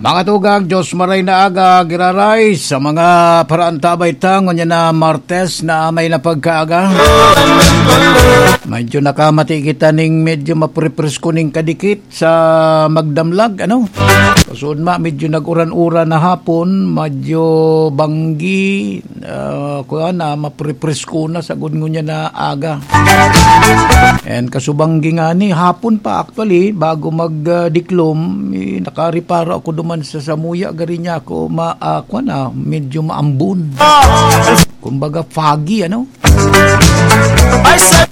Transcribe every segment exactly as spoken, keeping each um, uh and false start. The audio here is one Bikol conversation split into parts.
Mga tugang, Diyos maray na aga, giraray sa mga paraantabay ta, ngunyan na Martes na may na pagkaaga. Medyo nakamati kita ning medyo maprepresko ning kadikit sa magdamlag, ano? Kasunod ma, medyo nag-uran-uran na hapon, medyo banggi, ah, kuwan na, maprepresko na sagod ngunyan na aga. And kasubanggi nga ni, hapon pa actually, bago mag, ah, diklom, eh, nakareparo ako duman sa samuya, gari niya ako, ma, ah, kuwan na, medyo maambon. Kumbaga foggy, ano?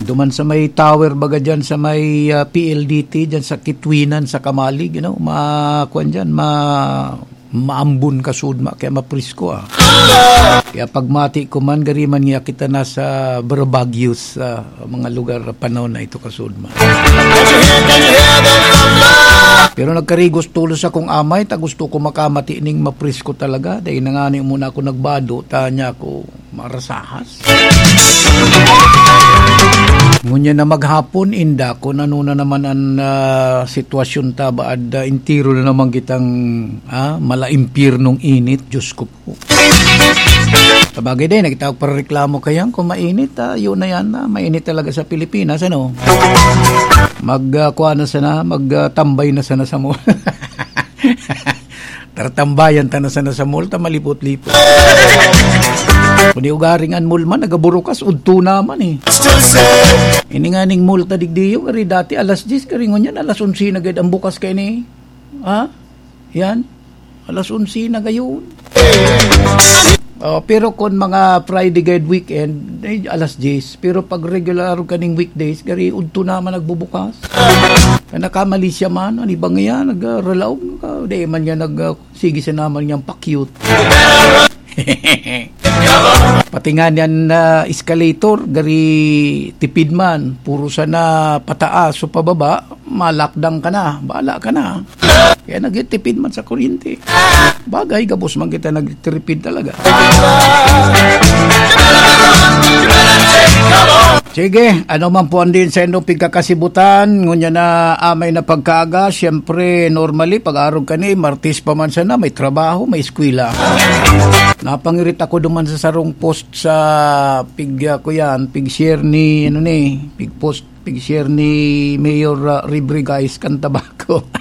Duman sa may tower, baga dyan sa may, ah, P L D T, dyan sa Kitwinan, sa Kamalig, you know, ma, kuwan dyan, ma, maambon kasudma, kaya maprisko, ah. Kaya pagmati ko man, gari man niya kita nasa Barbagios, ah, mga lugar, panahon na ito kasudma. Pero nagkarigos tulos akong amay, ta gusto ko makamati ning maprisko talaga. Dahil nangani muna ako nagbado, tanya ko, marasahas. Ngunyan na maghapon, inda, kung ano na naman ang, ah, sitwasyon ta, baad, ah, entero na naman kitang, ah, mala impyernong init, Diyos ko po. Sabagay din, nakita ko para reklamo kayan, kung mainit, ah, yun na yan, ah, mainit talaga sa Pilipinas, ano? Mag, ah, kuha na sana, mag, ah, tambay na sana sa mall. Tartambayan ta na sana sa mall, ta malipot-lipot. Kung di ugaring an mall man, nagaburukas, udto naman eh. Ini nga ning mall ta digdiyo, kari dati alas diyes, kari ngunyan alas onse na gad ang bukas kay ni. Ha? Yan. Alas onse na gayon. Oh, pero kung mga Friday guide weekend, eh, alas diyes. Pero pag regular kaning weekdays, gari udto naman nagbubukas. Kaya nakamali siya man, ano ba nga yan? Nagralaog ka. Di man niya nag, ah, sige siya naman niyang pa-cute. Pati nga niyan na escalator, gari tipid man. Puro sana pataas o pababa, malakdang ka na. Bahala ka na. Kaya nagtitipid man sa kuryente. Bagay, gabos man kita nagtitipid talaga. Sige, ano man po ang din sa inyong pagkakasibutan, ngunya na amay na pagkaaga, siyempre, normally, pag-arog ka ni, Martes pa man sana, may trabaho, may eskwela. Napangirit ako duman sa sarong post sa pig, ah, ko yan, pig-share ni, ano ni, pig-post, pig-share ni Mayor, ah, Ribri, guys, kan Tabaco.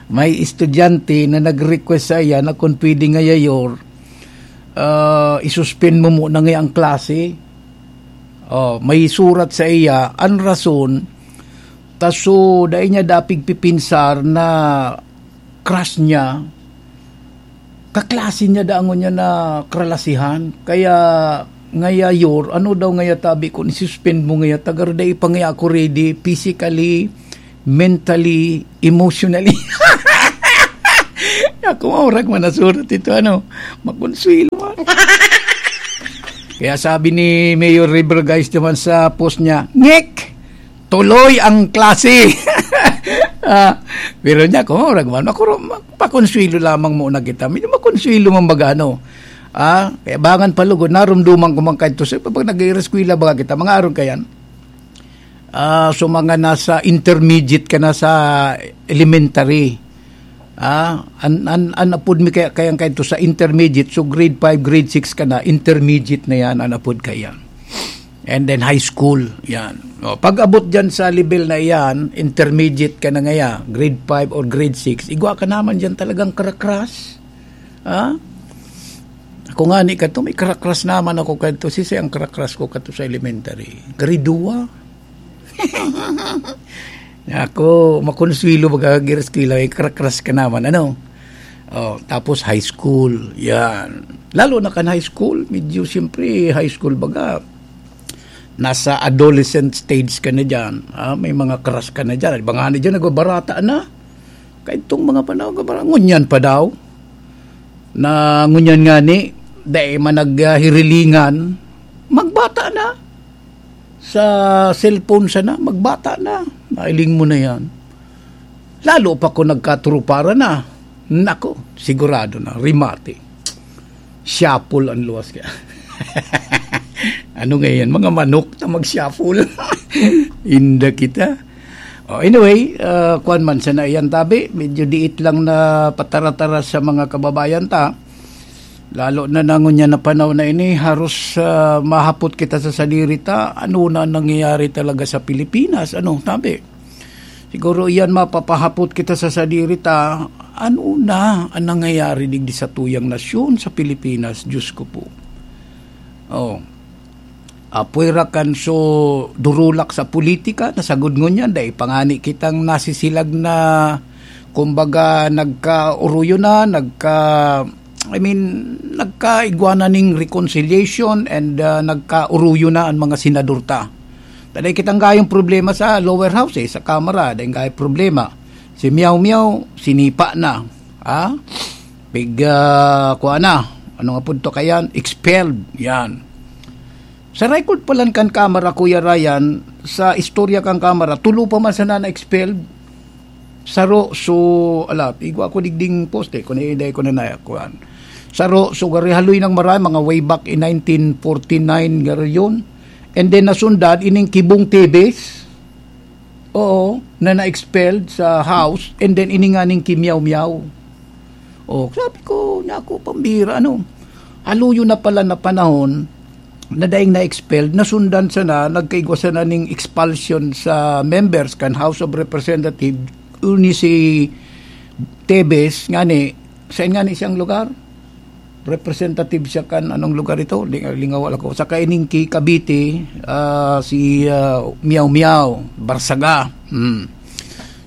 May estudyante na nag-request sa iya na kung pwede nga yayor, ah, isuspend mo muna nga ang klase. Oh, may surat sa iya, ang rason, ta so, dai niya dapig pipinsar na crush niya, kaklase niya dangon niya na kralasihan. Kaya, ngaya, Yor, ano daw ngaya tabi ko, ni-suspend mo ngaya, tagar dai pa ngaya ako ready, physically, mentally, emotionally. Ako, maurag man nasurat ito, ano, makonsuelo man. Kaya sabi ni Mayor River, guys, naman sa post niya, "Ngek! Tuloy ang klase!" Ah, pero niya, kung maurag man, ako, pakonsuelo lamang muna kita. Medyo makonsuelo man baga, ano. Ah, kaya bangan palugod, narumduman ko man kayo sa, pag nag-ireskwela baga kita, mga aron kayan. Ah, so mga nasa intermediate ka na sa elementary. Ah, an, an, an apod mi kaya, kayang kayo sa intermediate, so grade five, grade six ka na, intermediate na yan, an apod ka yan. And then high school, yan. O, pag abot dyan sa level na yan, intermediate ka na ngaya, grade five or grade six, igwa ka naman dyan talagang karakras. Ha? Ako nga ni kato, may karakras naman ako kato. Sisay ang karakras ko kato sa elementary? Grade two. Ako, makonsuelo baga, giras ko lang, eh, karakras ka naman, ano? Oh, tapos high school, yan. Lalo na kan high school, medyo siyempre, high school baga, nasa adolescent stage ka na dyan. Ah, may mga crush ka na dyan. Iba nga na dyan, nagbabarata na. Kaya itong mga panahon, nagbabarata, ngunyan pa daw. Na ngunyan nga ni, dai man naghirilingan, magbata na. Sa cellphone sana, magbata na. Nailing mo na yan. Lalo pa kung nagkaturuparan na. Nako, sigurado na, rimate. Shuffle ang luwas kaya. Ano ngayon? Mga manok na mag-shuffle. Inda kita. Oh, anyway, ah, kuwan man sana iyan tabi, medyo diit lang na patara-tara sa mga kababayan ta. Lalo na na ngunyan na panahon na ini, haros, ah, mahapot kita sa sadiri ta, ano na nangyayari talaga sa Pilipinas, ano, tabi. Siguro iyan mapapahapot kita sa sadiri ta, ano na ang nangyayari digdi sa tuyang nasyon sa Pilipinas, Diyos ko po. Oh. Apoy ra kan so durulak sa politika, nasagod ngunyan, dai pa ngani kitang nasisilag na, kumbaga, nagkauruyo na, nagka, I mean, nagkaigwa na ning reconciliation and, ah, nagkauruyo na ang mga senador ta. Taday kitang gayong problema sa lower house, eh, sa Kamara, dai gayong problema. Si Miao Miao, sinipa na. Ha? Pig, ah, kuha na. Ano nga punto kayan? Expelled. Yan. Sa record pa lang kan Kamara, Kuya Ryan, sa istorya kan Kamara, tulo pa man sana na-expelled. Saro, so, ala, igwa ko digding poste, kung iday ko na na, kuhaan. Saro, so, gari haloy ng maray, mga way back in nineteen forty-nine, gari yun. And then, nasundan, ining Kibong Tebes, oo, na na-expelled sa House, and then, ininganing Kimiyaw-miyaw. Oh, sabi ko, "Naku, pambira, ano?" Haluyo na pala na panahon na daing na-expelled, nasundan sana, nagkaigwa sana ning expulsion sa members kan House of Representatives, uni si Tebes, ngani, saan ngani siyang lugar? Representative siya kan anong lugar ito? Ling-, lingawal ako. Sa kaining ki Cavite, ah, si, ah, Miao Miao, Barsaga. Hmm.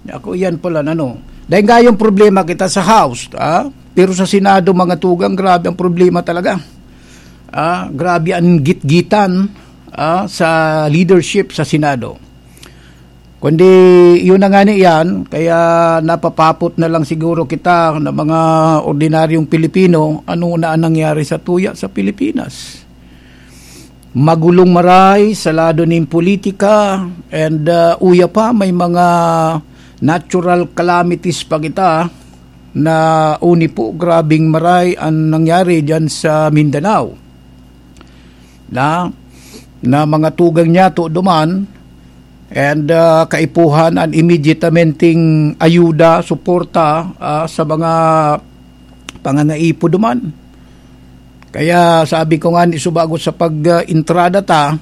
Ako, yan pala, ano. Dahil nga yung problema kita sa House, ah? Pero sa Senado, mga tugang, grabe ang problema talaga. Ah, grabe ang gitgitan, ah, sa leadership sa Senado. Kundi, yun na nga ni yan, kaya napapapot na lang siguro kita na mga ordinaryong Pilipino, ano na ang nangyari sa tuya sa Pilipinas. Magulong maray sa lado nin politika, and, ah, uya pa, may mga natural calamities pa kita na uni po, grabing maray ang nangyari diyan sa Mindanao. Na, na mga tugang niya to duman, and, ah, kaipuhan an immediatamente ayuda, suporta, ah, sa mga pangangaipo duman. Kaya sabi ko nga ni subago sa pag, ah, entrada ta,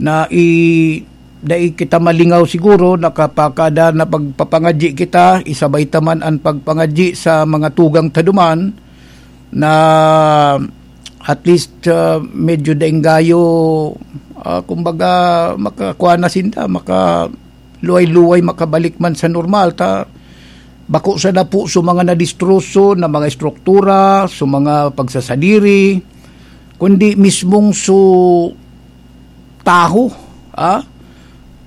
na i-, dai kita malingaw siguro, nakapakada na pagpapangadyi kita, isabay ta man an pagpangadyi sa mga tugang ta duman, na at least, ah, medyo daing gayo, ah, kumbaga, makakuha na sinda, maka-, luway-luway makabalik man sa normal, ta bako sana po sa mga nadistroso na mga estruktura, sa mga pagsasadiri, kundi mismong su taho, ah,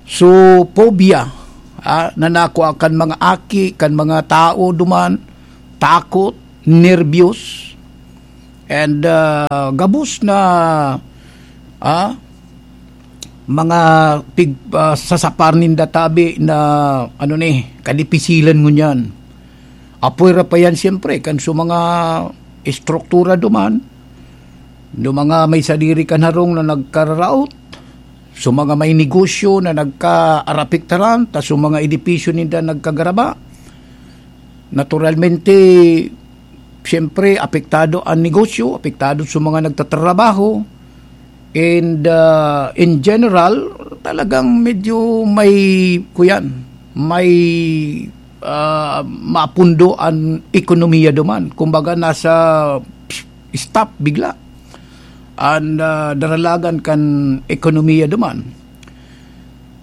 su phobia, ah, na nakua kan mga aki, kan mga tao duman, takot, nerbyos, and, ah, gabos na, ah, mga pig-, ah, sasapar ninda tabi na, ano ni, kadipisilan ngunyan. Apoy ra pa yan, siyempre, kan sa mga estruktura duman, no mga may sadiri kan harong na nagkararaot, sa mga may negosyo na nagkaarapiktaran, ta sa mga edipisyo ninda nagkagaraba. Naturalmente, siyempre, apektado ang negosyo, apektado sa mga nagtatrabaho. And, ah, in general, talagang medyo may, kuyan, may, ah, mapundo ang ekonomiya duman. Kumbaga, nasa stop bigla. Ang, ah, daralagan kan ekonomiya duman.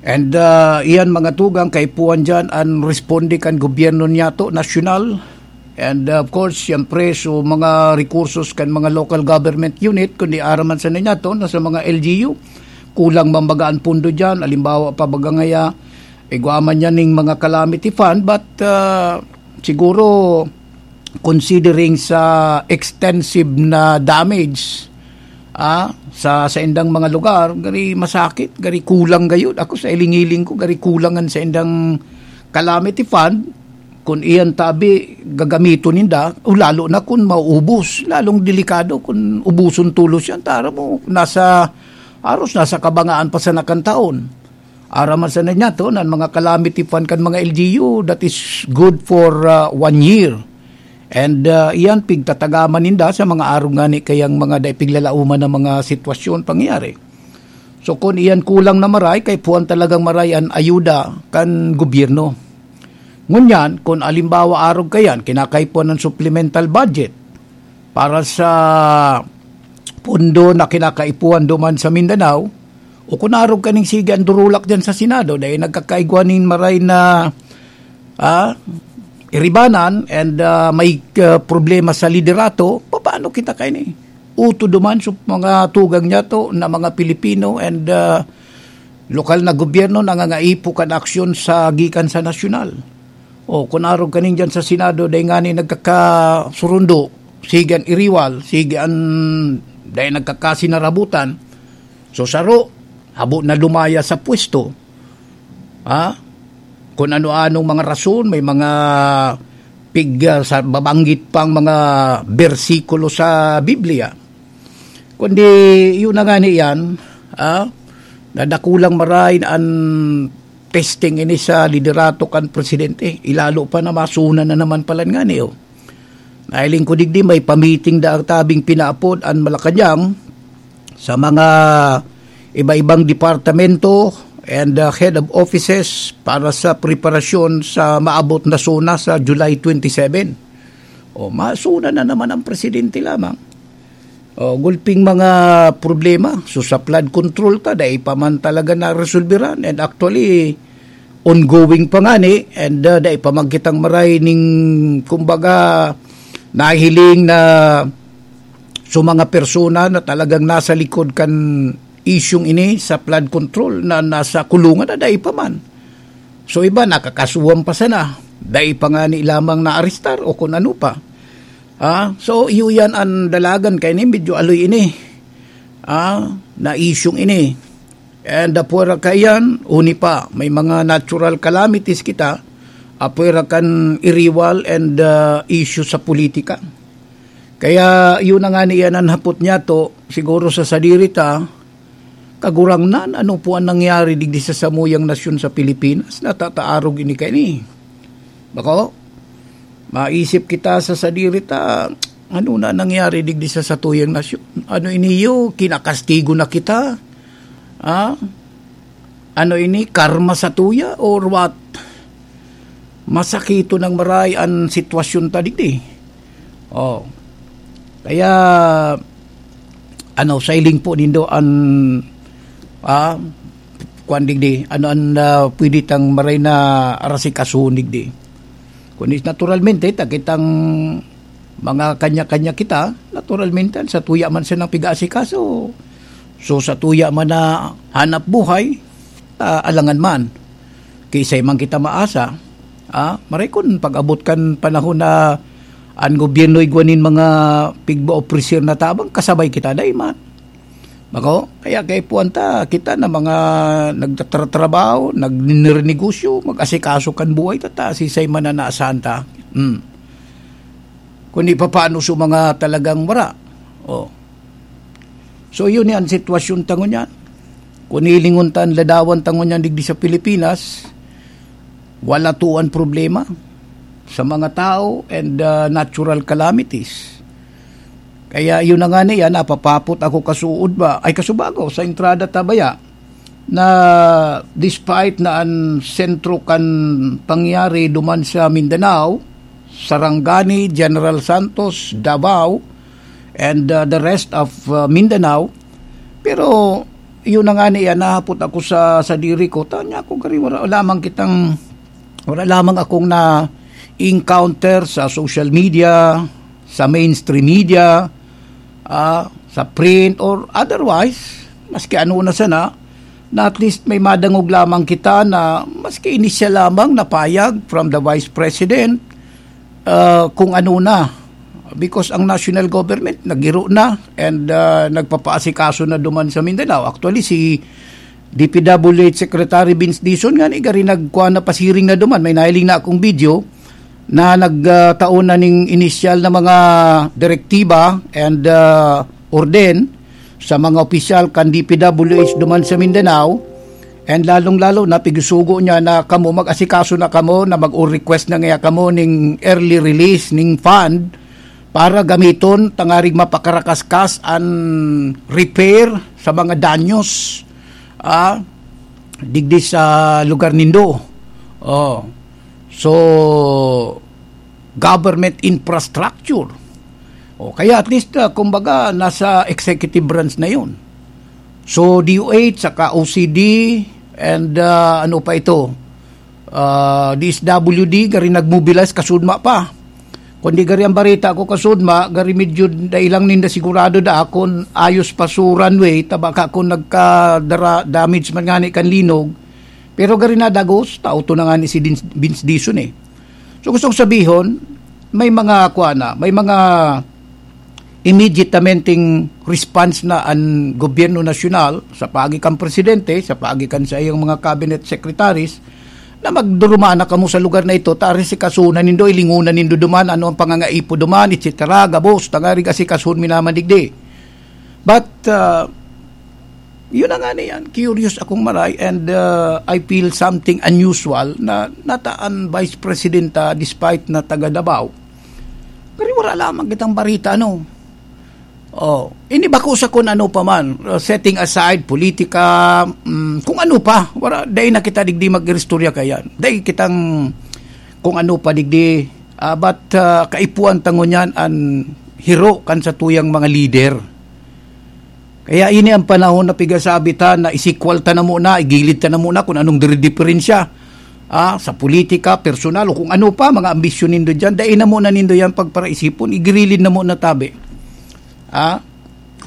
And, ah, iyan mga tugang, kaipuhan dyan ang responde kan gobyerno niyato, nasyonal. And, ah, of course, siyempre, so mga rekursos kan mga local government unit, kundi araman sa ninyato, na sa mga L G U, kulang man baga ang pondo dyan. Halimbawa pa baga ngaya, igwa man yan ning mga calamity fund, but, ah, siguro, considering sa extensive na damage, ah, sa saindang mga lugar, gari masakit, gari kulang gayud. Ako sa iling-iling ko, gari kulang an saindang calamity fund. Kun iyan tabi, gagamiton ninda, o lalo na kun mauubos, lalong delikado kun ubuson tolos yan. Tara mo, nasa, aros, nasa kabangaan pa sana kan taon. Aram man sana niya to, nan mga calamity fund kan mga L G U, that is good for, ah, one year. And, ah, iyan, pigtatagaman ninda sa mga arog ngani kayang mga dai piglalauman na mga sitwasyon, pangyayari. So, kun iyan kulang na maray, kaipuhan talagang maray an ayuda kan gobyerno. Ngunyan, kun alimbawa arog kayan, kinakaipuhan ng supplemental budget para sa pondo na kinakaipuhan duman sa Mindanao, o kun arog kaning sige an durulak diyan sa Senado, dai nagkakaigwa nin maray na, ah, iribanan and, ah, may, ah, problema sa liderato, papaano kita kaini? Uto duman sa mga tugang niya to na mga Pilipino and, ah, lokal na gobyerno nangangaipo kan aksyon sa gikan sa nasyonal. O, kun arog kaning diyan sa Senado, dai ngani nagkakasurundo, sige an iriwal, sige an dai nagkakasinarabutan. So, saro, habo na lumaya sa pwesto. Ha? Kun ano-anong mga rason, may mga pig-, ah, sa, babanggit pang mga bersikulo sa Biblia. Kundi, yun na ngani yan, ah, na dakulang maray an testing ini sa liderato kan presidente. Ilalo pa na masuna na naman palan ngani, oh. Nahiling ko digdi, may pamiting da tabing pinaapod an Malacañang sa mga iba-ibang departamento and, uh, head of offices para sa preparasyon sa maabot na SONA sa July twenty-seven. O, masuna na naman ang presidente lamang. O, gulping mga problema. So, sa flood control ta, dai pa man talaga naresolbiran. And actually, ongoing pa ngani. And, uh, dai pa man kitang maray ning, kumbaga, nahiling na so mga persona na talagang nasa likod kan isyung ini sa flood control na nasa kulungan na dai pa man. So, iba, nakakasuhan pa sana. Dai pa ngani lamang naarestar o kun ano pa. Ah, so, iyo yan an dalagan kaini, medyo aloy ini. Ah, na isyung ini. And apwera kaiyan, uni pa, may mga natural calamities kita, apwera kan iriwal and, ah, issue sa politika. Kaya yun na ngani yan an hapot niyato, siguro sa sadiri ta, Kagurangnan, ano po ang nangyari digdi sa samuyang nasyon sa Pilipinas? Natataarog ini kaini. Bako, maisip kita sa sadiri ta, ano na nangyari digdi sa satuyang nasyon? Ano iniyo, kinakastigo na kita? Ah? Ano ini, karma satuya or what? Masakito nang maray an sitwasyon ta digdi. Oh. Kaya, ano, sa hiling po nindo an, ah, kuwan digdi, ano an, ah, pwede tang maray na arasikasuhon digdi? Kundi naturalmente, ta kitang mga kanya-kanya kita, naturalmente, sa tuya man siya ng piga-asikaso. So, sa tuya man na hanap buhay, ah, alangan man. Kiisay man kita maasa, ah, maray kun pag-abot kan panahon na an gobyerno igwa nin mga pigba-officer na tabang, kasabay kita dai man. Bako, kaya kaipuhan ta, kita na mga nagtatratrabaho, nagninernegosyo, mag-asikaso kan buhay ta, ta, sisay man na naasahan ta. Hmm. Kundi papaano sa mga talagang wara. Oh. So, yun yan, sitwasyon ta ngunyan. Kun hilingon ta an ladawan ta ngunyan digdi sa Pilipinas, wala to an problema sa mga tao and, ah, natural calamities. Kaya yun na nga niya, napapapot ako kasuod ba, ay kasubago, sa entrada ta baya, na despite na an sentro kan pangyari duman sa Mindanao, Sarangani, General Santos, Davao, and, uh, the rest of, uh, Mindanao. Pero, yun na nga niya, nahapot ako sa, sa diri ko. Tanya ko, gari, wala lamang kitang, wala lamang akong na-encounter sa social media, sa mainstream media, ah, sa print or otherwise, maski ano na sana, na at least may madangog lamang kita na maski inisyal lamang na payag from the Vice President, ah, kung ano na. Because ang national government, nagiro na and, ah, nagpapaasikaso na duman sa Mindanao. Actually, si D P W H Secretary Vince Dizon nga ni gari nagkuha na pasiring na duman. May nahiling na akong video na nagtao na ning inisyal na mga direktiba and, ah, orden sa mga opisyal kan D P W H duman sa Mindanao. And lalong-lalo na pigsugo niya na kamo mag-asikaso na kamo na mag-request na nga kamo ning early release ning fund para gamiton tangarig mapakaraskas an repair sa mga danyos, ah, digdi sa lugar nindo. Oh. So, government infrastructure. O kaya at least, ah, kumbaga, nasa executive branch na yun. So, D O H, saka O C D, and, ah, ano pa ito? Ah, D S W D, gari nagmobilize, kasudma pa. Kundi gari ang barita ko, kasudma, gari medyo dai lang ninda sigurado da kung ayos pa so runway, ta baka kung nagka-dara-, damage man ngani kan linog, pero gari nadagos, tao to na ngani si Dins-, Vince Dizon eh. So, gusto kong sabihon, may mga, kuha na, may mga immediatamenting response na an gobyerno nasyonal sa paagi kan presidente, sa paagi kan sa iyang mga cabinet secretaries, na magduruma na kamo sa lugar na ito, ta asikasunan nindo, ilingunan nindo duman, ano ang pangangaipo duman, et cetera. Gabos, tangarig asikasuhon mi naman digdi. But, uh, yun na nga na yan. Curious akong maray and, uh, I feel something unusual na nataan Vice President, uh, despite na taga Davao. Pero wala lamang kitang barita, ano. Oh, ini bako sa kung ano pa man, uh, setting aside politika, mm, kung ano pa, wala, dai na kita digdi mag-istorya kayan. Dai kitang kung ano pa digdi, ah, but, ah, kaipuhan ta ngunyan an hiro kan satuyang mga lider. Kaya ini ang panahon na pigasabi ta na isikwal ta na muna, igilid ta na muna kung anong dire-, diferensya, ah, sa politika, personal, o kung ano pa, mga ambisyon nindo dyan. Dai na muna nindo yan pagparaisipon, igilid na muna tabi. Ah,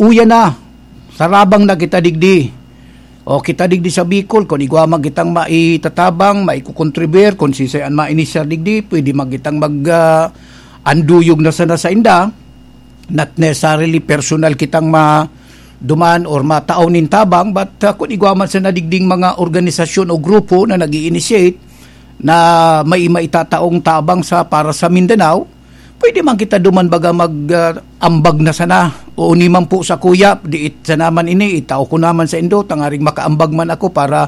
uya na, sarabang na kita digdi. O kita digdi sa Bicol, kung igwa man kitang maitatabang, maikukontribir, kung siisay an mainisyar digdi, pwede man kitang mag, ah, anduyog na sana sa inda. Not necessarily personal kitang ma-, duman or matao nin tabang, but, ah, kung igwa man sana digding mga organisasyon o grupo na nag-i-initiate na may maitataong tabang sa, para sa Mindanao, pwede man kita duman baga mag, ah, ambag na sana. O ni man po sa kuya, diit sa naman ini, itao ko naman sa indo, tangaring makaambag man ako para,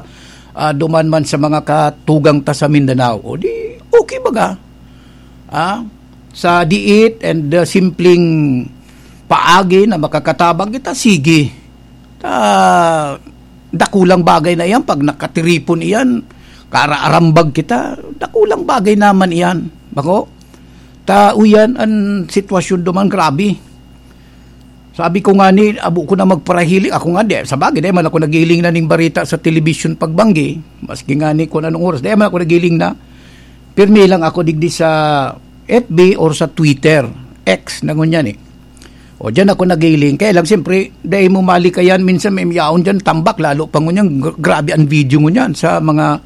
ah, duman man sa mga katugang ta sa Mindanao. O di, okay baga. Ah, sa diit and, ah, simpleng paagi na makakatabang kita, sige. Ta, dakulang bagay na iyan pag nakatiripon iyan, karaarambag kita, dakulang bagay naman iyan. Bako? Ta, uyan an sitwasyon duman, grabe. Sabi ko nga ni, abo ko na magparahiling. Ako nga, di, sa bagay, di man ako nagiling na ning barita sa television pagbanggi. Maski nga ni kung anong oras, di man ako nagiling na. Pirmi lang ako digdi sa F B or sa Twitter. X na ngunyan eh. O, diyan ako nagiling. Kaya lang, siyempre, dahil mo malikayan, minsan may miyaon dyan, tambak, lalo pa ngunyan, gr-, grabe ang video ngunyan sa mga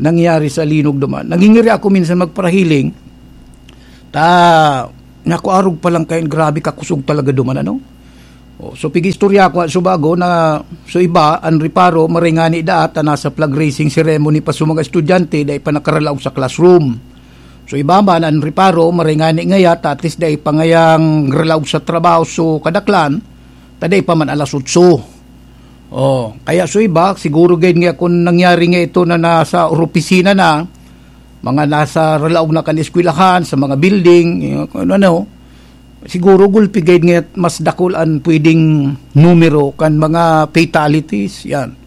nangyari sa linog duman. Nangingiri ako minsan magparahiling, ta, nakuarog pa lang kayo, grabe kakusog talaga duman, ano? O, so, pig-istorya ko, so bago na, so iba, ang reparo, maringani daat, ta nasa flag raising ceremony pa sa mga estudyante, dahil pa nakaralaog sa classroom. So, iba man, ang reparo, maray ngani ngaya, ta at least dai pa ngayang relaw sa trabaho, so kadaklan, ta dai pa man alas otso. Oh, kaya so iba, siguro gayud nga kung nangyari nga ito na nasa opisina na, mga nasa relaw na kan eskwelahan, sa mga building, yung kung ano, siguro gulpi gayud nga mas dakul an pwedeng numero kan mga fatalities, yan.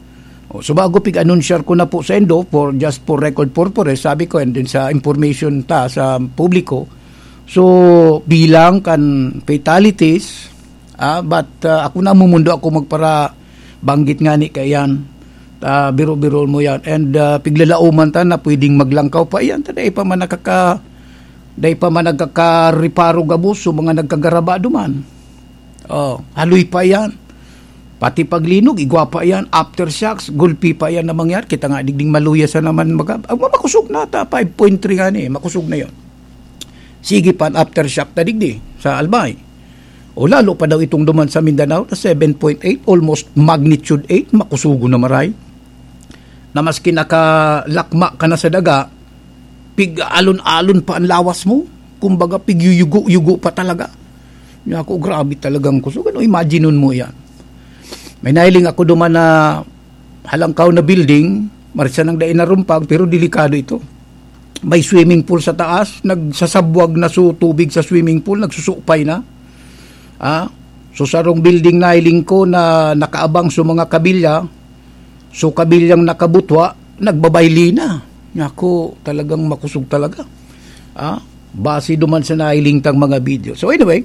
O, so bago pig-anunsyar ko na po sa indo, for, just for record purposes, sabi ko, and then sa information ta sa publiko, so bilang kan fatalities, ah, but, ah, ako na mumundo ako magpara banggit nga ni kaiyan, ah, biro-biro mo yan. And, ah, piglalauman ta na pwedeng maglangkaw pa iyan, ta dai pa man nakaka-, dai pa man nagkakareparo gabos, so mga nagkagaraba duman. Oh, haloy pa iyan. Pati paglinog, igwa pa iyan. Aftershocks, gulpi pa iyan na mangyari. Kita nga, digding maluya sa naman. Mag-, ah, makusog na ta, five point three nga ni, makusog na yon. Sige pa, an aftershock ta digdi, sa Albay. O lalo pa daw itong duman sa Mindanao, na seven point eight, almost magnitude eight, makusugo na maray. Na maski nakalakma ka na sa daga, pig-alon-alon pa ang lawas mo. Kumbaga, pigyuyugo-yugo pa talaga. Niya ako, grabe talagang kusog. Ano, imagine mo yan. May nahiling ako duman na halangkaw na building, Marsa nang dai narumpag, pero delikado ito. May swimming pool sa taas, nagsasabwag na so tubig sa swimming pool, nagsusupay na. Ah, so sarong building nailing ko na nakaabang sa mga kabilya, so kabilyang nakabutwa, nagbabayli na. Naku, talagang makusog talaga. Ah, base duman sa nailing tang mga video. So anyway,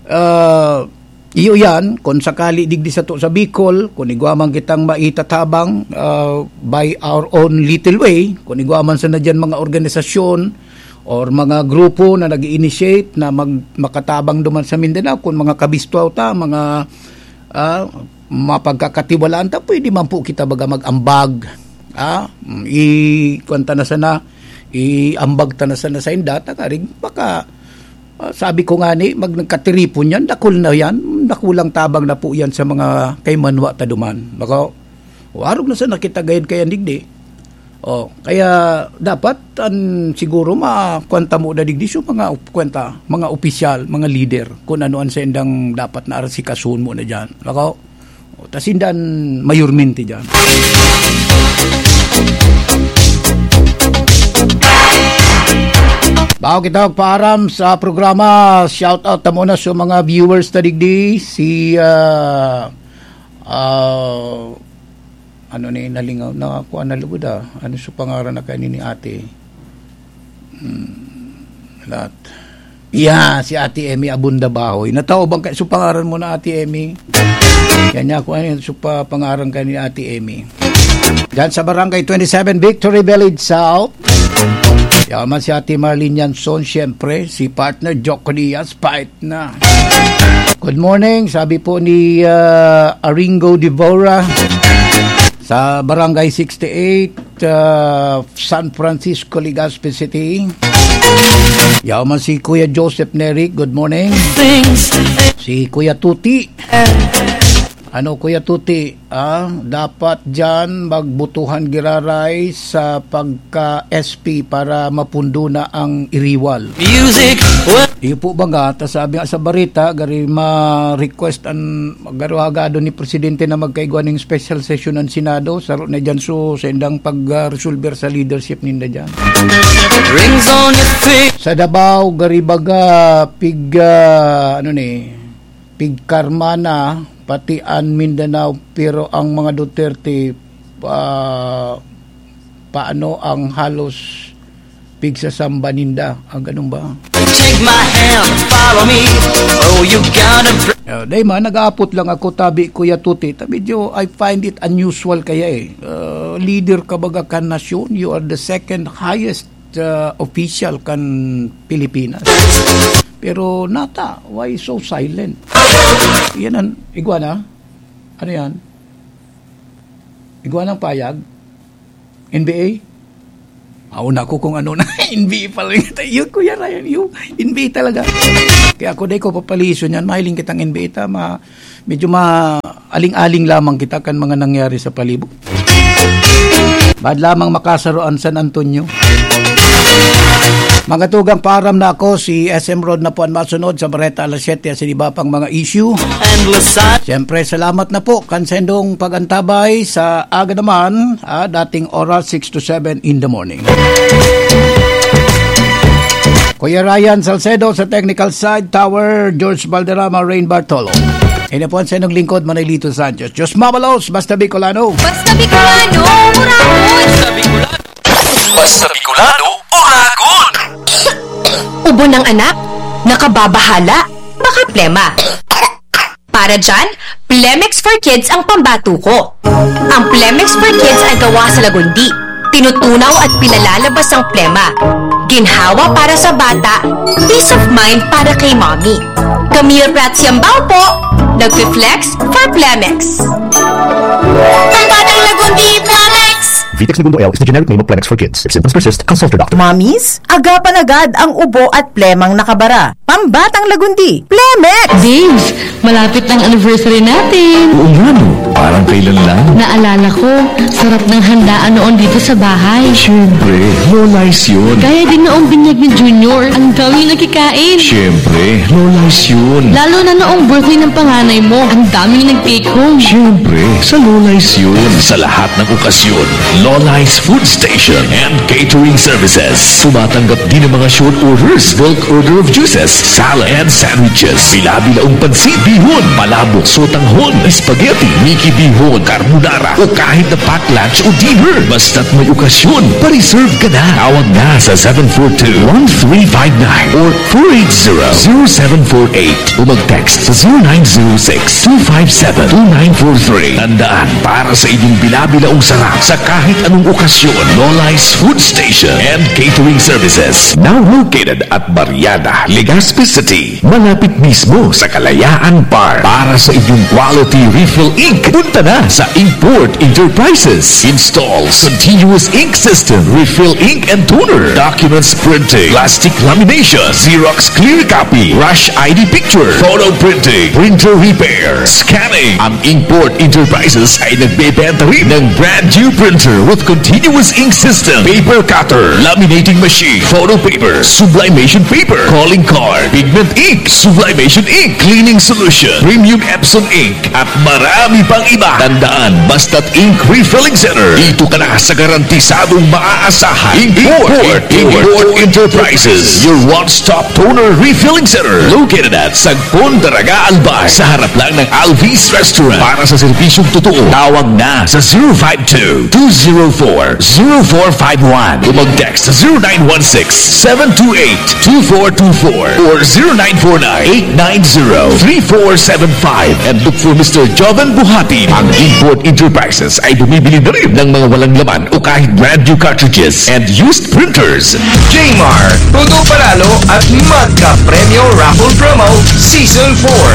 ah, iyo yan, kung sakali digdi sato sa Bicol, kung igwa man kitang maitatabang, ah, by our own little way, kung igwa man sana dyan mga organisasyon or mga grupo na nag-initiate na mag-, makatabang duman sa Mindanao, kung mga kabistwaw ta, mga, ah, mapagkakatiwalaan ta, pwede man po kita baga mag-ambag. Ah, i-, kuwan ta na sana, iambag ta na sana sa inda, tangarig baka, ah, sabi ko nga ni, mag-, nagkatiripon yan, dakul na yan, dakulang tabang na po yan sa mga kaimanwa ta duman. Baka, o, arog na sana kita gayod kaya digdi. Oh, kaya dapat an siguro ma-, kuwan ta mo na digdi so mga op-, kuwan ta, mga opisyal, mga leader, kung ano an saindang dapat na asikasuhon mo na diyan. Baka, o, ta sinda an mayormente diyan. Bago kita magpaaram sa programa, shout out ta muna sa mga viewers ta digdi, si, ah, ah, ano ni, nalingaw, nakakuha na lugod, ah. Ano sa pangaran na kani ni ate? Hmm, lahat. Yeah, si Ate Emmy Abunda Bahoy. Natao bang kay, so pangaran mo na, Ate Emmy? Yan niya, kung ano yun, so pa, pangaran ka ni Ate Emmy. Diyan sa Barangay twenty-seven, Victory Village South. Yaman si Ate Marlene Yanson, siyempre. Si partner Jock Diaz, fight na. Good morning, sabi po ni, ah, Aringo Devora sa Barangay sixty-eight, ah, San Francisco, Legazpi City. Yaman si Kuya Joseph Neri, good morning. Si Kuya Tuti. Ano, Kuya Tuti, ah, dapat diyan magbutuhan giraray sa pagka-S P para mapundo na ang iriwal. Music. Iyo po baga, ta sabi nga sa barita, gari ma-request an, garo hagado ni Presidente na magkaigwa ning special session ang Senado, saro na diyan so sa indang pag-resolver sa leadership ninda diyan. Rings on your finger. Sa Davao, gari baga, pig, ah, ano ni, pigkarma na pati an Mindanao, pero ang mga Duterte, ah, paano ang halos pigsasamba ninda? Ah, ganun ba? Take my hand, follow me. Oh, you gotta br- Ah, dai man, nag-aapot lang ako, tabi, Kuya Tuti. Ta medyo, I find it unusual kaya eh. Ah, leader ka baga kan nasyon, you are the second highest, ah, official kan Pilipinas. Pero nata, why so silent? Yan ang, igwa na? Ano yan? Igwa ng payag? N B A? Aw, naku, kung ano na, N B A pala yun. Yun, Kuya Ryan, yun, N B A talaga. Kaya ako, dai ko papaliso niyan, mahiling kitang N B A, tama. Medyo ma-, aling-aling lamang kita kan mga nangyari sa palibot. Bad lamang makasaro ang San Antonio. Mga tugang, paaram na ako, si S M Rod na po ang masunod sa Bareta alas siyete, sa iba pang mga issue. Endless sun. Siyempre, salamat na po kan sendong pag-antabay sa aga naman, ah, dating oras, six to seven in the morning. Kuya Ryan Salcedo sa technical side, Tower, George Valderrama, Rain Bartolo. Ini po ang sendong lingkod, Manilito Sanchez. Diyos mabalos, basta Bicolano. Basta Bicolano, Uragon! Basta Bicolano, Uragon! Ubo ng anak? Nakababahala? Baka plema. Para dyan, Plemex for Kids ang pambatuko. Ang Plemex for Kids ay gawa sa lagundi. Tinutunaw at pinalalabas ang plema. Ginhawa para sa bata, peace of mind para kay mommy. Camille Prats Yambao po, nagfi-flex for Plemex. Pambatang lagundi, Plemex! Vitex Negundo L is the generic name of Plemex for Kids. If symptoms persist, consult your doctor. Mommies, agapan agad ang ubo at plemang nakabara. Pambatang lagundi, Plemex! Babes, malapit na ang anniversary natin. Oo nga, no? Parang kailan lang. Naalala ko, sarap ng handaan noon dito sa bahay. Siyempre, low lice yun. Gaya din noong binyag ni Junior. Ang daming nakikain. Siyempre, low lice yun. Lalo na noong birthday ng panganay mo. Ang daming nag-take home. Siyempre, sa low lice yun. Sa lahat ng okasyon, Olice Food Station and Catering Services. Tumatanggap din ng mga short orders, bulk order of juices, salad, and sandwiches. Bila-bilaong pansit, bihon, palabok, sotanghon, spaghetti, miki bihon, carbonara, o kahit na pack lunch o dinner. Basta't may okasyon, pa-reserve ka na. Tawag na sa seven four two, one three five nine or four eight zero, zero seven four eight o mag-text sa zero nine zero six, two five seven, two nine four three. Tandaan, para sa inyong bila-bilaong sarap sa kahit anong okasyon, Lola's Food Station and Catering Services. Now located at Barriada, Legazpi City, malapit mismo sa Kalayaan Park. Para sa inyong quality refill ink, punta na sa Inkport Enterprises. Installs continuous ink system, refill ink and toner, documents printing, plastic lamination, Xerox clear copy, rush I D picture, photo printing, printer repair, scanning. Ang Inkport Enterprises ay nagbebenta rin ng brand new printer with continuous ink system, paper cutter, laminating machine, photo paper, sublimation paper, calling card, pigment ink, sublimation ink, cleaning solution, premium Epson ink, at marami pang iba. Tandaan, basta't ink refilling center, dito ka na sa garantisadong maaasahan. Import, Import, Import Enterprises, your one-stop toner refilling center, located at Sagpon, Daraga, Albay, sa harap lang ng Alvis Restaurant. Para sa serbisyong totoo, tawag na sa zero five two, two zero four, zero four five one o mag-text sa zero nine one six, seven two eight, two four two four or zero nine four nine, eight nine zero, three four seven five and look for Mister Joven Buhati. Ang Import Enterprises ay bumibili na rin ng mga walang laman o kahit brand new cartridges and used printers. Jmar, Todo Panalo at Magka Premyo Raffle Promo Season four.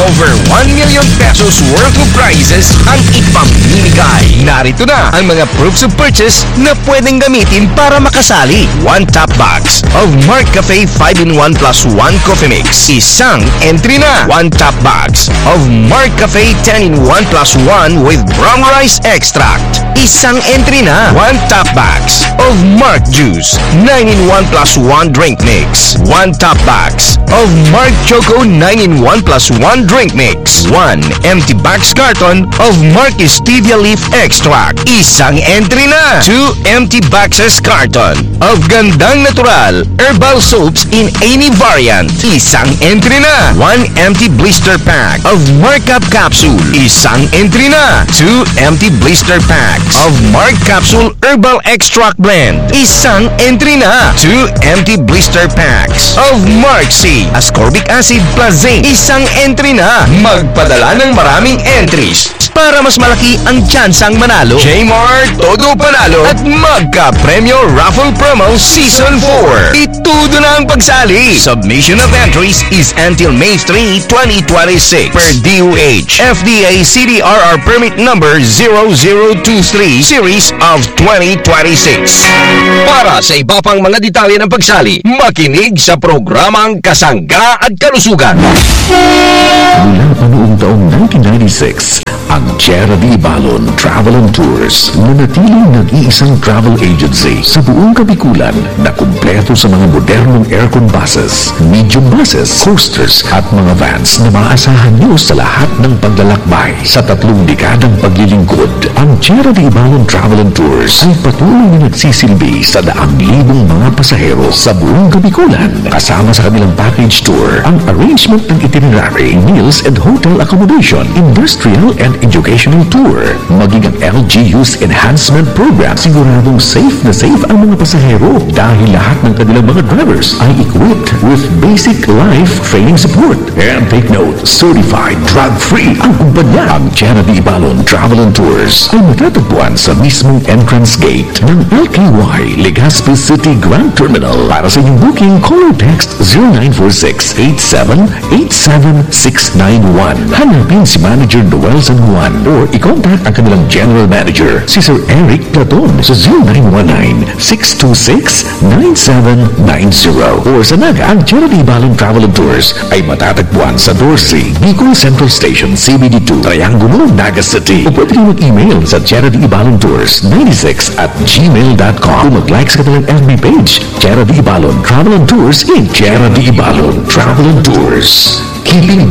Over one million pesos worth of prizes ang ipamimigay. Narito na ang mga proofs of purchase na pwedeng gamitin para makasali. One top box of Mark Cafe five-in-one plus one Coffee Mix. Isang entry na. One top box of Mark Cafe ten-in-one plus one with brown rice extract. Isang entry na. One top box of Mark Juice nine-in-one plus one drink mix. One top box of Mark Choco nine-in-one plus one drink mix. One empty box carton of Mark Stevia Leaf Extract. Isang entry na. Two empty boxes carton of Gandang Natural Herbal Soaps in any variant. Isang entry na. One empty blister pack of Mark Up Capsule. Isang entry na. Two empty blister packs of Mark Capsule Herbal Extract Blend. Isang entry na. Two empty blister packs of Mark C Ascorbic Acid plus Zinc. Isang entry na. Magpadala ng maraming entries para mas malaki ang tsansang manalo. Jmar, Todo Panalo at Magka Premyo Raffle Promo Season four. Itudo na ang pagsali. Submission of entries is until May three, twenty twenty-six. Per D O H, F D A C D R R Permit Number zero zero two three Series of twenty twenty-six. Para sa iba pang mga detalye ng pagsali, makinig sa programang Kasangga at Kalusugan. Mula pa noong taong nineteen ninety-six, ang Tierra de Ibalon Travel and Tours nanatiling nag-iisang travel agency sa buong Kabikulan na kumpleto sa mga modernong aircon buses, medium buses, coasters at mga vans na maaasahan nyo sa lahat ng paglalakbay. Sa tatlong dekadang paglilingkod, ang Tierra de Ibalon Travel and Tours ay patuloy na nagsisilbi sa daang libong mga pasahero sa buong Kabikulan. Kasama sa kanilang package tour ang arrangement ng itinerary, meals and hotel accommodation, industrial and educational tour, maging ang L G U's enhancement program. Siguradong safe na safe ang mga pasahero dahil lahat ng kanilang mga drivers ay equipped with basic life training support. And take note, certified drug-free ang kumpanya. Ang Tierra de Ibalon Travel and Tours ay matatagpuan sa mismong entrance gate ng L K Y Legazpi City Grand Terminal. Para sa inyong booking, call or text zero nine four six eight seven eight seven six nine one. Hanapin si Manager Noel San Juan or i-contact ang kanilang General Manager, si Sir Eric Platon, sa zero nine one nine six two six nine seven nine zero. Or sa Naga, ang Tierra de Ibalon Travel and Tours ay matatagpuan sa Dorsey, Bicol Central Station, C B D two, Triangulo, Naga City. O pwede kayong mag-email sa Tierra de Ibalon Tours ninety-six at gmail dot com. O mag-like sa kanilang F B page, Tierra de Ibalon Travel and Tours Inc. Tierra de Ibalon Travel and Tours. Keeping